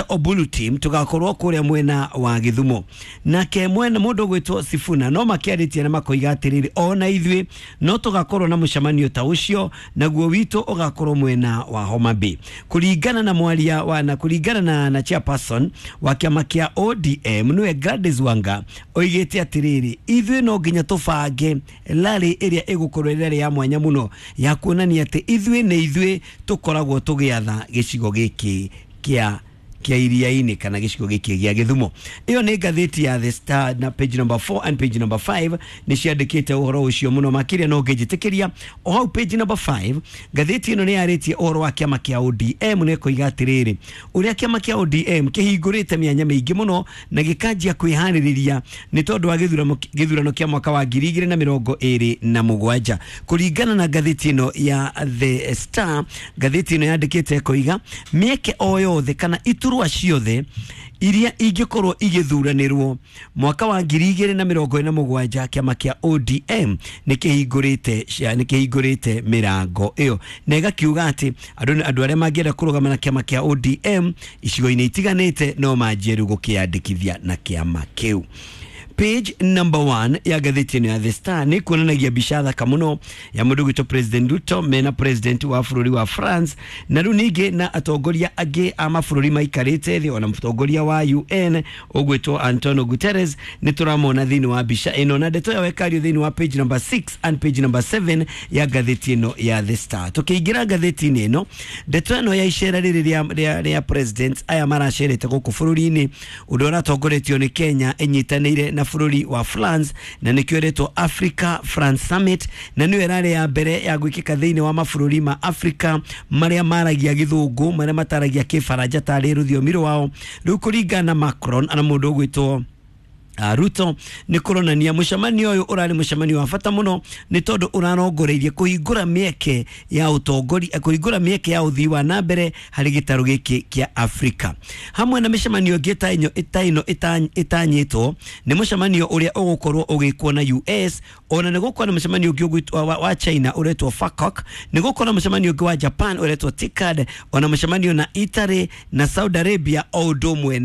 Obulu team tugakorwo kuria mwena wa Githumo. Nake mwena mundu gwitwo Sifuna no makiaritie na makoiga atiriri, ona ithuĩ no tugakorwo na mucemanio ta ucio, naguo witũ ugakorwo mwena wa Homa Bay. Kuringana na mwaria wa na kuringana na chairperson wa kiama kia ODM niwe Gladys Wanga, oigĩte atiriri, ithuĩ no nginya tũbange rally ĩrĩa ĩgũkorwo ĩrĩ rally ya mwanya mũno ya kuonania atĩ ithuĩ nĩ ithuĩ tũkoragwo tũgĩatha gĩcigo gĩkĩ kĩa Iriainĩ kana gĩcigo gĩkĩ gĩa Gĩthumo. Ĩyo nĩ ngathĩti ya The Star na page number 4 and page number 5 nĩ ciandĩkĩte ũhoro ũcio mũno makĩria. No ngĩnjĩtĩkĩria o hau page number 5, ngathĩti ĩno nĩ yarĩtie ũhoro wa kĩama kĩa ODM na ĩkoiga atĩrĩrĩ, ũrĩa kĩama kĩa ODM kĩhingũrĩte mĩanya mĩingĩ mũno na gĩkanjia kwĩharĩrĩria nĩ tondũ wa gĩthurano kĩa mwaka wa 2027. Kũringana na ngathĩti ĩno ya The Star, ngathĩti ĩno yandĩkĩte ĩkoiga mĩeke o yothe kana iturwa ciothe iria ingĩkorwo igĩthuranĩrwo mwaka wa 2027, kĩama kĩa ODM nĩ kĩhingũrĩte mĩrango ĩyo, na ĩgakiuga atĩ andũ arĩa mangĩenda kũrũgama na kĩama kĩa ODM icigo-inĩ itiganĩte no manjie rĩu gũkĩyandĩkithia na kĩama kĩu. Page number 1 ya ngathĩti ĩno ya The Star nĩ kuonanagia mbica thaka mũno ya mũndũ gwĩtwo President Ruto mena president wa bũrũri wa France, na rĩu ningĩ na atongoria angĩ a mabũrũri maikarĩte thĩ, ona mũtongoria wa UN ũgwĩtwo Antonio Guterres nĩ tũramona thĩinĩ wa mbica ĩno, na ndeto ĩyo ĩkario thĩinĩ wa page number 6 and page number 7 ya ngathĩti ĩno ya The Star. Tũkĩingĩra ngathĩti-inĩ ĩno, ndeto ĩno ya icera rĩrĩ rĩa president aya maracerete gũkũ bũrũri-inĩ, ũndũ ũratongoretio nĩ Kenya ĩnyitanĩire na bũrũri wa France, na nĩkĩo ĩretwo Africa France Summit, na nĩyo ĩrarĩ ya mbere ya gwĩkĩka thĩinĩ wa mabũrũri ma Africa marĩa maragia Gĩthũngũ, marĩa mataragia Kĩbaranja tarĩ rũthiomi rwao. Rĩu kũringana na Macron na mũndũ ũgwĩtwo Ruto, nĩ kũronania mũcemanio ũyũ ũrarĩ mũcemanio wa bata mũno nĩ tondũ ũrarongoreirie kũhingũra mĩeke ya ũtongoria, kũhingũra mĩeke ya ũthii wa na mbere harĩ gĩtarũ gĩkĩ kĩa Afrika. Hamwe na mĩcemanio ĩngĩ ta ĩno ĩtanyĩtwo nĩ mũcemanio ũrĩa ũgũkorwo ũgĩkwo na US, ona nĩ gũkorwo na mũcemanio ũngĩ ũgwĩtwo wa China ũretwo FACOC, nĩ gũkorwo na mũcemanio ũngĩ wa Japan ũretwo TICAD, ona mũcemanio na Italy na Saudi Arabia o ũndũ ũmwe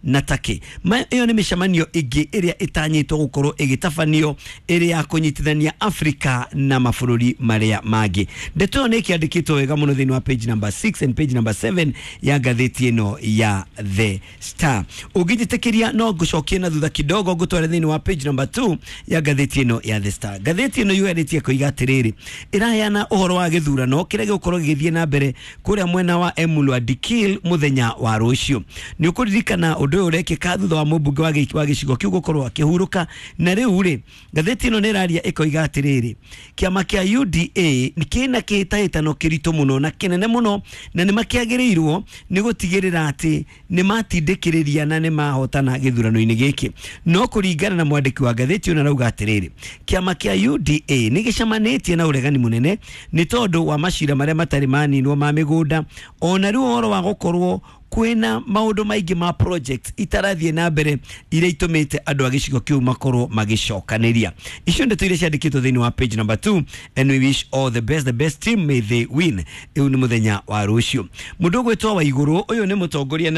na Turkey. Ĩyo nĩ mĩcemanio ĩngĩ ĩrĩa ĩtanyĩtwo gũkorwo ĩgĩtabanio ĩrĩ ya kũnyitithania Afrika na mabũrũri marĩa mangĩ. Ndeto ĩyo nĩ ĩkĩandĩkĩtwo wega mũno thĩinĩ wa page number 6 and page number 7 ya ngathĩti ĩno ya The Star. Ũngĩnjĩtĩkĩria no ngũcokie na thutha kidogo ngũtware thĩinĩ wa page number 2 ya ngathĩti ĩno ya The Star. Ngathĩti ĩno yuarĩtie koiga atĩrĩrĩ, ĩraheana ũhoro wa gĩthurano kĩrĩa gĩgũkorwo gĩgĩthiĩ na mbere kũrĩa mwena wa Emurua Dikirr mũthenya wa rũciũ. Nĩ ũkũririkana ũndũ ũyũ ũrekĩka thutha wa mũmbunge wa gĩcigo kĩu gũkorwo akĩhurũka, na rĩu rĩ ngathĩti ĩno nĩ ĩraria ĩkoiga atĩrĩrĩ, kĩama kĩa UDA kĩna kĩhĩtahĩtano kĩritũ mũno na kĩnene mũno, na nĩ makĩagĩrĩirwo nĩ gũtigĩrĩra atĩ nĩ matindĩkĩrĩria na nĩ mahotana gĩthurano-inĩ gĩkĩ. No kũringana na mwandĩki wa ngathĩti ĩno arauga atĩrĩrĩ, kĩama kĩa UDA nĩ gĩcemanĩtie na ũregani mũnene nĩ tondũ wa macira marĩa matarĩ maninwo ma mĩgũnda, ona rĩu ũhoro wa gũkorwo kwĩna maũndũ maingĩ ma projects itarathiĩ na mbere iria itũmĩte andũ a gĩcigo kĩu makorwo magĩcokanĩria. Icio ndeto iria ciandĩkĩtwo thĩinĩ wa page number 2, and we wish all the best, the best team, may they win. Ĩu nĩ mũthenya wa rũciũ. Mũndũ ũgwĩtwo Waigũrũ, ũyũ nĩ mũtongoria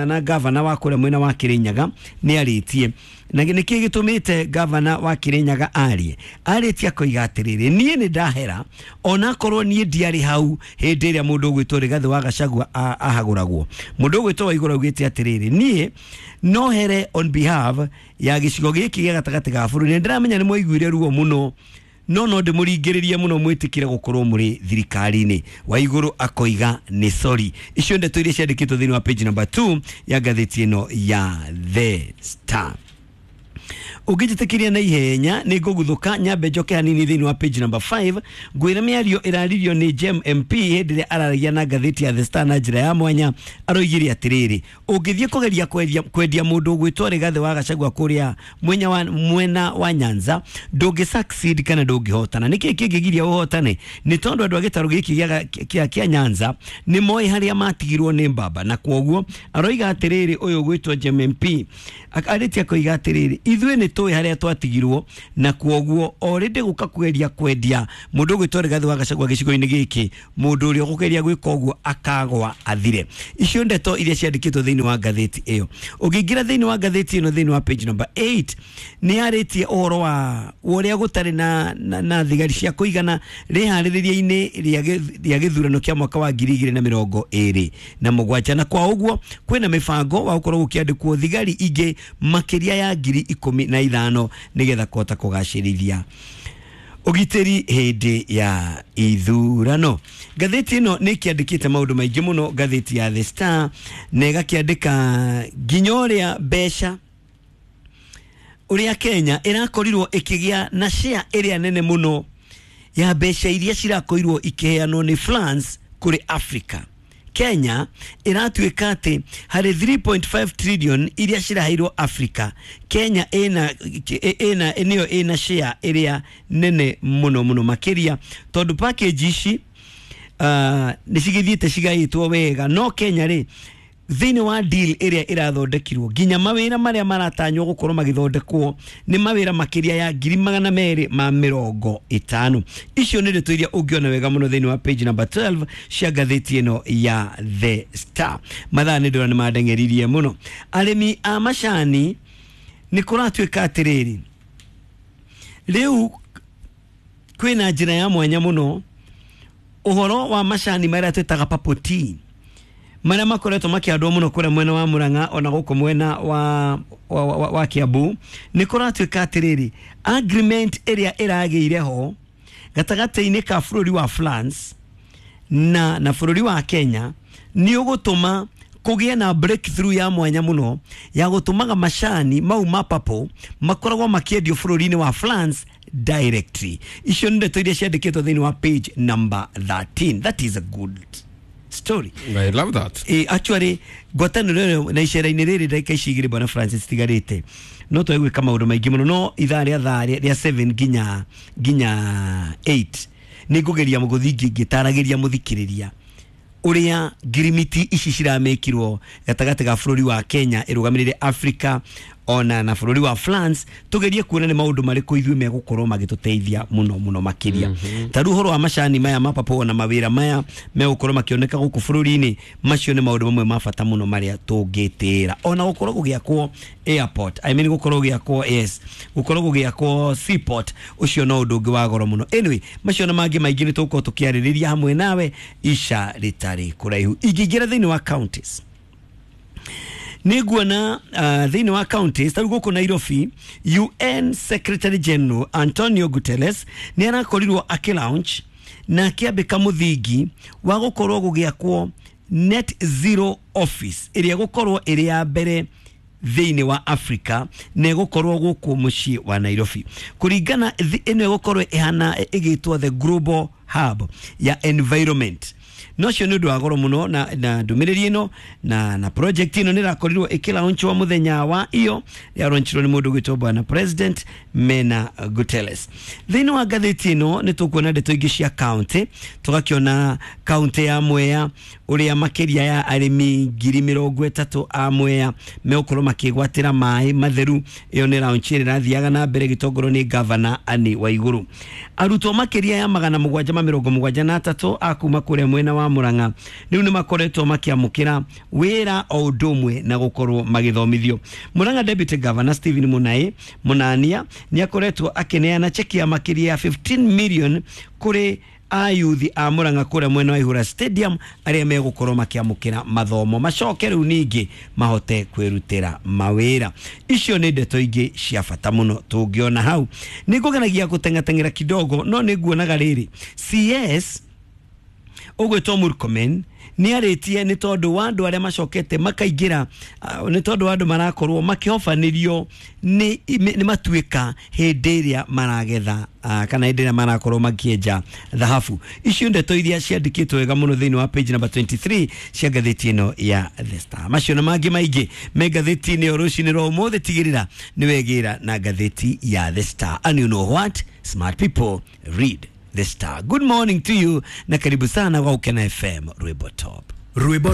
na gavana wa kũrĩa mwena wa Kĩrĩnyaga, nĩ arĩtie. Na nĩkĩ gĩtũmĩte gavana wa Kĩrĩnyaga arie? Arĩtie akoiga atĩrĩrĩ, niĩ nĩ ndahera onakorwo niĩ ndiarĩ hau hĩndĩ ĩrĩa mũndũ ũgwĩtwo Rigathĩ wa Gachagua ahagũragwo. Mũndũ ũgwĩtwo Waigũrũ augĩte atĩrĩrĩ, niĩ no here on behalf ya gĩcigo gĩkĩ gĩa gatagatĩ ga bũrũri, nĩ ndĩramenya nĩ mwaiguire ruo mũno, no ndĩmũringĩrĩrie mũno mwĩtĩkĩre gũkorwo mũrĩ thirikari-inĩ. Waigũrũ akoiga nĩ sorry. Icio ndeto iria ciandĩkĩtwo thĩinĩ wa page number 2 ya ngathĩti ĩno ya The Star. Ũngĩnjĩtĩkĩria na ihenya nĩ ngũguthũka nyambe njoke hanini thĩinĩ wa page number 5, ngwĩre mĩario ĩraririo nĩ Gem MP hĩndĩ ĩrĩa araragia na ngathĩti ya The Star na njĩra ya mwanya. Aroigire atĩrĩrĩ, ũngĩthiĩ kũgeria kwendia mũndũ ũgwĩtwo Rigathĩ wa Gachagua kũrĩa mwena wa Nyanza, ndũngĩ succeed kana ndũngĩhotana. Nĩkĩ kĩngĩgiria ũhotane? Nĩ tondũ andũ a gĩtarũ gĩkĩ kĩa Nyanza nĩ moĩ harĩa matigirwo nĩ mbamba, na kwoguo aroiga atĩrĩrĩ, ũyũ ũgwĩtwo Gem MP arĩtie akoiga atĩrĩrĩ, ithuĩ nĩ tũĩ harĩa twatigirwo na kwoguo already gũka kweria kwendia mũndũ ũgwĩtwo Rigathĩ wa Gachagua gĩcigo-inĩ gĩkĩ mũndũ ũrĩa ũkũgeria gwĩka ũguo akagwa athire. Icio ndeto iria ciandĩkĩtwo thĩinĩ wa ngathĩti ĩyo. Ũngĩingĩra thĩinĩ wa ngathĩti ĩno thĩinĩ wa page number 8 nĩ yarĩtie ũhoro wa ũrĩa gũtarĩ na thigari cia kũigana rĩharĩrĩria-inĩ rĩa gĩthurano kĩa mwaka wa 2027 na kwa ũguo kwĩna mĩbango wa gũkorwo gũkĩandĩkwo thigari ingĩ makĩria ya 15,000 nĩgetha kũhota kũgacĩrithia ũgitĩri hĩndĩ ya ithurano. Ngathĩti ĩno nĩ ĩkĩandĩkĩte maũndũ maingĩ mũno, ngathĩti ya The Star, na ĩgakĩandĩka nginya ũrĩa mbeca ũrĩa Kenya ĩrakorirwo ĩkĩgĩa na share ĩrĩa nene mũno ya mbeca iria cirakorirwo ikĩheanwo nĩ France kũrĩ Africa. Kenya ĩratuĩka atĩ harĩ 3.5 trillion iria ciraheirwo Africa, Kenya ĩna nĩyo ĩna share ĩrĩa nene mũno mũno makĩria, tondũ package ici nĩ cigĩthiĩte cigaĩtwo wega, no Kenya rĩ thĩinĩ wa deal ĩrĩa ĩrathondekirwo nginya mawĩra marĩa maratanywo gũkorwo magĩthondekwo nĩ mawĩra makĩria ya 250,000. Icio nĩ ndeto iria ũngĩona wega mũno thĩinĩ wa page number 12 cia ngathĩti ĩno ya The Star. Mathaa nĩ ndĩrona nĩ mandeng'eririe mũno. Arĩmi a macani nĩ kũratuĩka atĩrĩrĩ, rĩu kwĩna njĩra ya mwanya mũno ũhoro wa macani marĩa twĩtaga purple tea marĩa makoretwo makĩhandwo mũno kũrĩa mwena wa Murang'a ona gũkũ mwena wa Kiambu, nĩ kũratuĩka atĩrĩrĩ agreement ĩrĩa ĩragĩire ho gatagatĩ-inĩ ka bũrũri wa France na bũrũri wa Kenya nĩ ũgũtũma kũgĩe na breakthrough ya mwanya mũno ya gũtũmaga macani mau ma purple makoragwo makĩendio bũrũri-inĩ wa France directly. Icio nĩ ndeto iria ciandĩkĩtwo thĩinĩ wa page number 13. That is a good story. I love that. Actually ngwatanĩro na icera-inĩ rĩrĩ ndagĩka ici igĩrĩ bwana Francis tigarĩte no twage gwĩka maũndũ maingĩ mũno, no ithaa rĩa thaa rĩa 7 nginya 8 nĩ ngũgeria gũthiĩ ngĩtaragĩria mũthikĩrĩria ũrĩa ngirimiti ici ciramĩkirwo gatagatĩ ga bũrũri wa Kenya ĩrũgamĩrĩire Africa ona na bũrũri wa France, tugerie kuona nĩ maũndũ marĩkũ ithuĩ megũkorwo magĩtũteithia mũno mũno makĩria. Ta rĩu ũhoro wa macani maya ma purple na mawĩra maya megũkorwo makĩoneka gũkũ bũrũri-inĩ, macio nĩ maũndũ mamwe ma bata mũno marĩa tũngĩtĩĩra. Ona gũkorwo gũgĩakwo airport, I mean gũkorwo gũgĩakwo, yes, gũkorwo gũgĩakwo seaport, ũcio no ũndũ ũngĩ wa goro mũno. Anyway, macio na mangĩ maingĩ nĩ tũgũkorwo tũkĩarĩrĩria hamwe nawe ica rĩtarĩ kũraihu. Ingĩingĩra thĩinĩ wa counties nĩ nguona thĩinĩ wa counties ta rĩu gũkũ Nairobi, UN Secretary General Antonio Guterres nĩ arakorirwo akĩlaunch na akĩambĩka mũthingi wa gũkorwo gũgĩakwo net zero office ĩrĩa gũkorwo ĩrĩ ya mbere thĩinĩ wa Africa na ĩgũkorwo gũkũ mũciĩ wa Nairobi. Kũringana ĩno ĩgũkorwo ĩhana ĩgĩtwo the global hub ya environment. No cio nĩ ũndũ wa goro mũno na ndũmĩrĩri ĩno na project ĩno nĩ ĩrakorirwo ĩkĩlaunchwo mũthenya wa iyo yalaunchirwo nĩ mũndũ ũgwĩtwo bwana President Mena Guterres. Thĩinĩ wa ngathĩti ĩno nĩ tũkuona ndeto ingĩ cia county, tũgakĩona county ya Mwea ũrĩa makĩria ya arĩmi 30,000 a Mwea megũkorwo makĩgwatĩra maĩ matheru. Ĩyo nĩ launch ĩrĩa ĩrathiaga na mbere ĩgĩtongorio nĩ Governor Anne Waiguru. Arutwo makĩria ya 773 a kuma kũrĩa mwena wa Murang'a rĩu nĩ makoretwo makĩamũkĩra wĩra o ũndũ ũmwe na gũkorwo magĩthomithio. Murang'a Deputy Governor Stephen Munai Munania nĩ akoretwo akĩneana cheki ya makĩria ya 15 million kũrĩ ayuthi a Murang'a kũrĩa mwena wa Ihura Stadium arĩa megũkorwo makĩamũkĩra mathomo macoke rĩu ningĩ mahote kwĩrutĩra mawĩra. Icio nĩ ndeto ingĩ cia bata mũno tũngĩona hau. Nĩ ngũgeragia gũteng'ateng'era kidogo, no nĩ nguonaga rĩrĩ CS ũgwĩtwo Murkomen nĩ arĩtie nĩ tondũ wa andũ arĩa macokete makaingĩra, nĩ tondũ wa andũ marakorwo makĩhobanĩrio nĩ matuĩka hĩndĩ ĩrĩa maragetha kana hĩndĩ ĩrĩa marakorwo makĩenja thahabu. Icio ndeto iria ciandĩkĩtwo wega mũno thĩinĩ wa page number 23 cia ngathĩti ĩno ya The Star. Macio na mangĩ maingĩ me ngathĩti-inĩ ĩyo rũcinĩ rwa ũmũthĩ, tigĩrĩra nĩ wegĩra na ngathĩti ya The Star. And you know what? Smart people read The Star. Good morning to you na karibu sana kwa Ukena FM Rwimbo Top. Rwimbo.